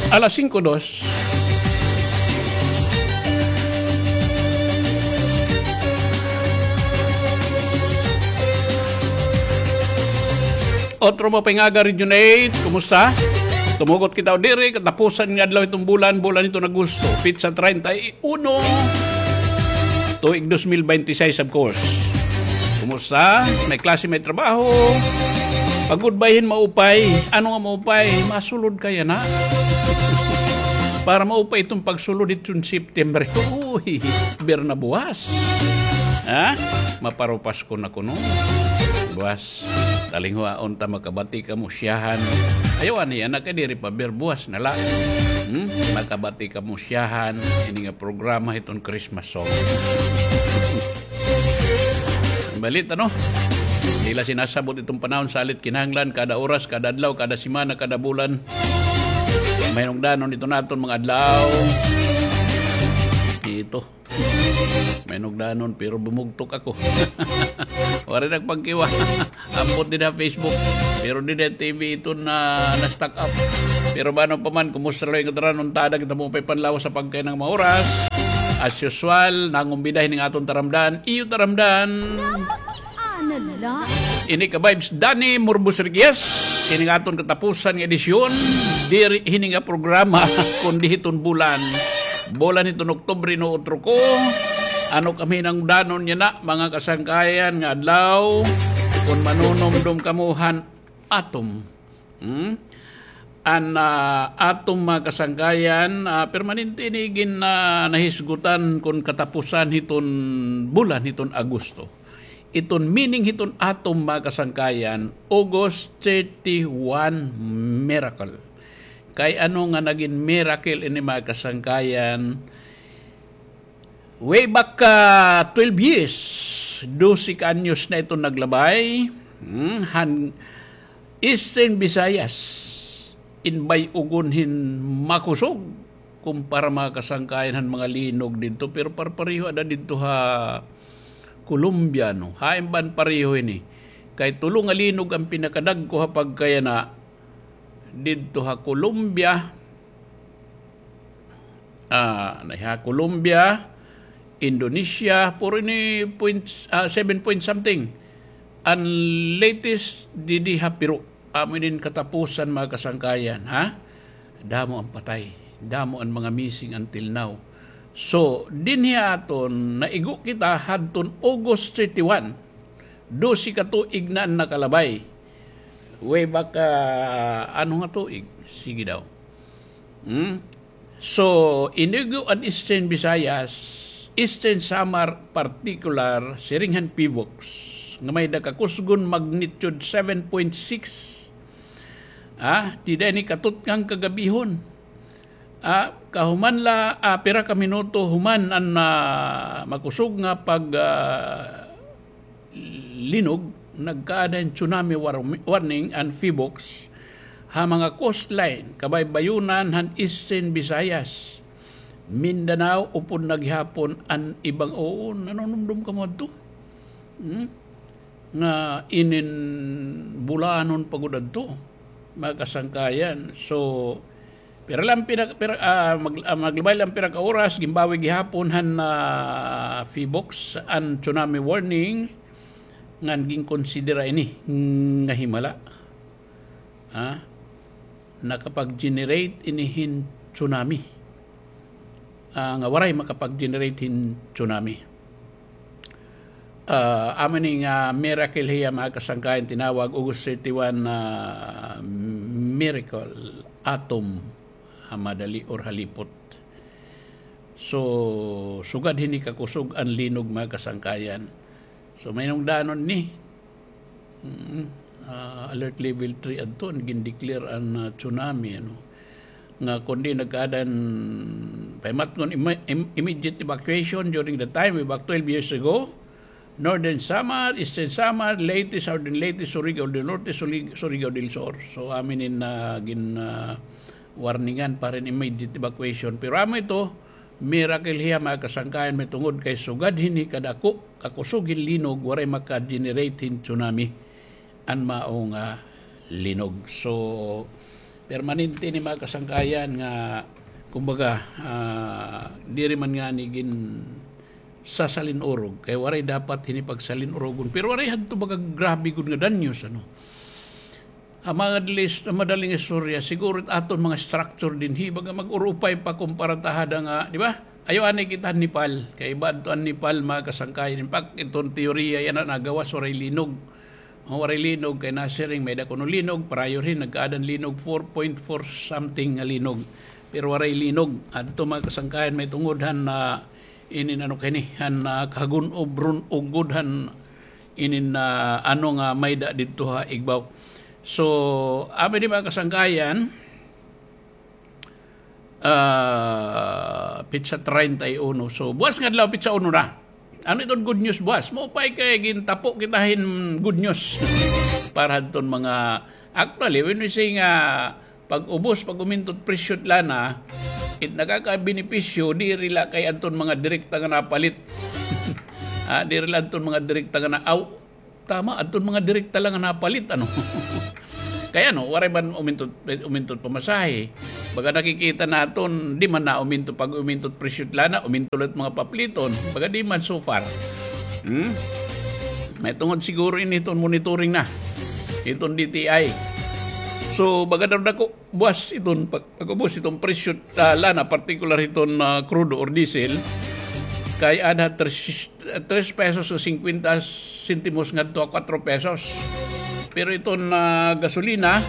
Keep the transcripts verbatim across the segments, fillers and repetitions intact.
Alas singko dos. Otro mo pangaga, Region eight, kumusta? Tumugot kita diri, katapusan nga adlaw hiton bulan, bulan hiton Agosto, petsa treinta y uno, tuig dos mil beintiseis, of course. Kumusta? May klase, may trabaho? Pagod ba hin maupay? Ano nga maupay? Masulod ka yana. Para maupay iton pagsulod hiton September. Uy, bir na buwas. Ha? Maparupas ko na kuno. Buwas. Talinguhaon ta, makabati kamo siyahan. Ayaw anay yana kay diri pa bir, buwas na la. Hmm? Makabati kamo siyahan. Ini nga programa hiton Christmas song. Balita, no? Diri la sinasabot iton panahon, salit kinahanglan kada oras, kada adlaw, kada semana, kada bulan. Mahinungdanon iton aton mga adlaw. Ito. Mahinungdanon, pero bumugtok ako. Waray nagpagkiwa. Ambot dida ha Facebook. Pero dida ha T V iton na, na-stuck up. Pero bano pa man, kumusta la it aton tanan, kita mo pay panlawas ha pagkay nga mga oras. As usual, nangumbida hini nga aton taramdan. Iyo taramdan. Ano la? Ini ka vibes, Danny Murbos Riquez. Hini nga aton katapusan nga edisyon. Diri hini nga programa, kundi hiton bulan. Bulan hiton Oktubre, no, utro ko. Ano kami hinungdanon yana, mga kasangkayan, nga adlaw? Kon manunumdom kamo han atom. Hmm? An, ah, atom, mga kasangkayan, ah, permanente ini gin, ah, nahisgutan kon katapusan hiton bulan hiton Agosto. Iton meaning hiton atom, mga kasangkayan, August thirty-one miracle. Kay ano nga nagin miracle ini, mga kasangkayan? Way back, ah, twelve years, dose ka anyos na iton naglabay, hmm, han Eastern Visayas, in bay-ugon hin makusog, kumpara, mga kasangkayan, han mga linog didto, pero parpareho ada didto ha Colombia, no? Hain ba an pareho ini? Kay tulo nga linog an pinakadagko ha pagkayana didto ha Colombia, ah, na ha Colombia, Indonesia, puro ini point, ah, seven point something. An latest didi ha Peru. Amo inin katapusan, mga kasangkayan, ha? Damo an patay, damo an mga missing until now. So, dinhi ha aton, naigo kita hadton August thirty-one. Dose ka tuig na an nakalabay. Way back, ah, ano nga tuig? Sige daw. Hmm? So, inigo an Eastern Visayas, Eastern Samar particular, siring han PHIVOLCS, nga may-ada kakusgon magnitude seven point six. Ah, dida ini katutngan kagabihon. Ah, kahuman la, ah, pira ka minuto human an, ah, makusog nga pag, ah, linog, nagkaada hin tsunami war-, warning an PHIVOLCS ha mga coastline, kabaybayonan han Eastern Visayas, Mindanao, upod na gihapon an ibang, oo, nanunumdom kamo adto. Hmm? Nga inin bulanon pa gud adto, mga kasangkayan. So, pira lang pina-, pira, ah, mag-, ah, maglabay lang pira ka oras, ginbawi gihapon han, ah, PHIVOLCS an tsunami warning, ngan ginkonsidera ini nga himala. Ah, nakapag-generate ini hin tsunami. Ah, nga waray makapag-generate hin tsunami. Ah, amo ini nga miracle hiya, mga kasangkayan, tinawag August thirty-one na miracle atom ha madali or halipot. So, sugad hini kakusog an linog, mga kasangkayan. So, mahinungdanon ni, mm, ah, alert level three adto, an gin-declare an, ah, tsunami, ano. Nga kundi nagkaada hin pahimatngon, im-, im-, immediate evacuation during the time, way back twelve years ago. Northern Samar, Eastern Samar, Leyte, Southern Leyte, Surigao del Norte, Suli-, Surigao del Sur. So, amo ini nga gin, ah, warningan para hin immediate evacuation. Pero amo ito, miracle hiya, mga kasangkayan, mahitungod kay sugad hini kadako, kakusog hin linog, waray maka-generate hin tsunami an mao nga linog. So, Permanente ini, mga kasangkayan, nga, kumbaga, ah, diri man ngani ginsasalin-urog. Kay waray dapat hini pagsalin-urogon. Pero waray hadto baga grabe gud nga danyos, ano. Ang mga dalis-, ang madaling istorya, siguro it aton mga structure dinhi, baga mag-urupay pa kumpara ta hada nga, di ba? Ayaw anay kita han Nepal. Kay iba adto an Nepal, mga kasangkayan. In fact, iton teorya yana nagawas, waray linog. Ang waray linog kay nasiring, may-ada kuno linog, prior hin, nagkaadan linog, four point four something nga linog. Pero waray linog. Adto, mga kasangkayan, may tungod han, ah, inin ano kini, han, ah, kagun-ob run ugod han inin, ah, ano nga may-ada didto ha igbaw. So, amo ini, mga kasangkayan, ah, petsa treinta y uno. So, buwas nga adlaw, petsa uno na. Ano iton good news buwas? Maupay kay gintapo kita hin good news. Para hadton mga, actually, when we say nga pag-ubos, pag-uminto it presyo it lana, it nakakabenepisyo, diri la kay adton mga direkta nga napalit. Ah, diri la adton mga direkta nga na-, aw, tama, adton mga direkta la nga napalit, ano. Kay ano, waray man uminto, uminto it pamasahe. Baga nakikita naton, di man na uminto, pag-uminto it presyo it lana, uminto la it mga papliton. Baga di man so far. Hmm? May tungod siguro ini iton monitoring na. Iton D T I. So, baga daw dako, buwas iton pag-, pag-ubos iton presyo, ah, lana, particular iton, ah, crudo or diesel, kay ada tres, tres pesos o singkwenta sentimos ngadto ha kuwatro pesos. Pero iton, ah, gasolina,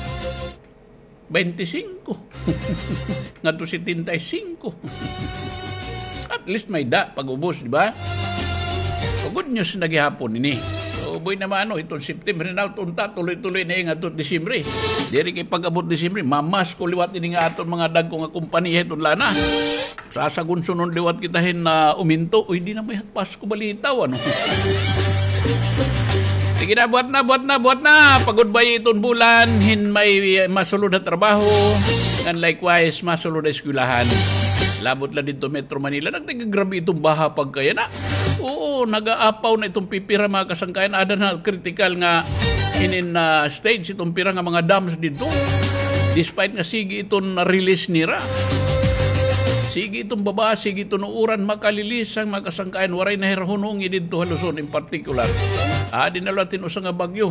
baynte singko ngadto setenta y singko. At least may-ada pag-ubos, di ba? So, good news na gihapon ini. So, buhi naman, ano, iton September na, unta, tuloy-tuloy na ini ngadto Disyembre. Diri kay pag-abot Disyembre, mamasko liwat ini nga aton mga dagko nga kompanya iton lana. Sasagunsunon liwat kita hin, ah, uminto. Uy, di na may Pasko balitaw, ano? Sige na, buhat na, buhat na, buhat na. Pag-goodbye iton bulan, hin may, eh, masulod ha trabaho. And likewise, masulod ha eskwelahan. Labot la didto Metro Manila. Nagtigagrabe iton baha pagkayana. Oo, nagaapaw na iton pipira, mga kasangkayan. Ada na critical nga inin, ah, stage iton pira nga mga dams didto. Despite nga sige iton release nira. Sige iton baba, sige iton uuran, makalilisang, mga kasangkayan, waray na hira hunongi didto ha Luzon in particular. Adi na liwat hin usa nga bagyo.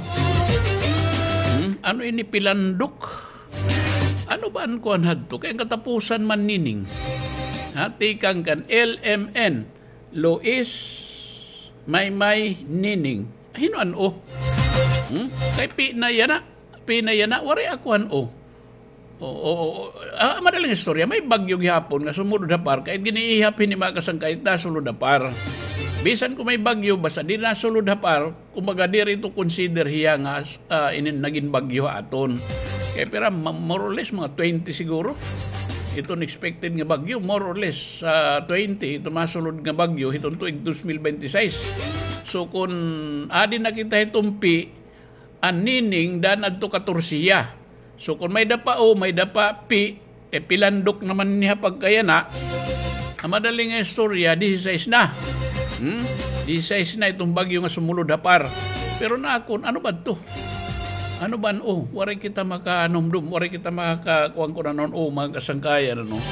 Hmm? Ano ini, Pilandok? Ano ba an kuan hadto? Kay an katapusan man nining. Ha, tikang kan L M N, Lois, Maymay, Nining. Hin-o an O? Hmm? Kay P na yana. P na yana, waray ako han O. Oo, oo, oo. Ah, madaling istorya, may bagyo gihapon nga sumulod ha par, kay giniihap hini, mga kasangkayan, nasulod ha par. Bisan kon may bagyo, basta di nasulod ha par, kumbaga, diri ito consider hiya nga, ah, inin nagin bagyo ha aton. Kay pira, ma-, more or less, mga twenty siguro. Iton expected nga bagyo, more or less, ah, twenty, iton masulod nga bagyo, hiton tuig dos mil binte y seis. So, kon adi na kita hiton P, an Nining daan adto katorse hiya. So, kon may-ada pa O, may-ada pa P, eh, Pilandok naman niya pagkayana. An madaling nga istorya, disisais na. Hmm? Disisais na iton bagyo nga sumulod ha par. Pero nakon, ano ba ito? Ano ba an O? Waray kita makahanumdom, waray kita makaka-, kuan ko na noon, O, mga kasangkayan, ano?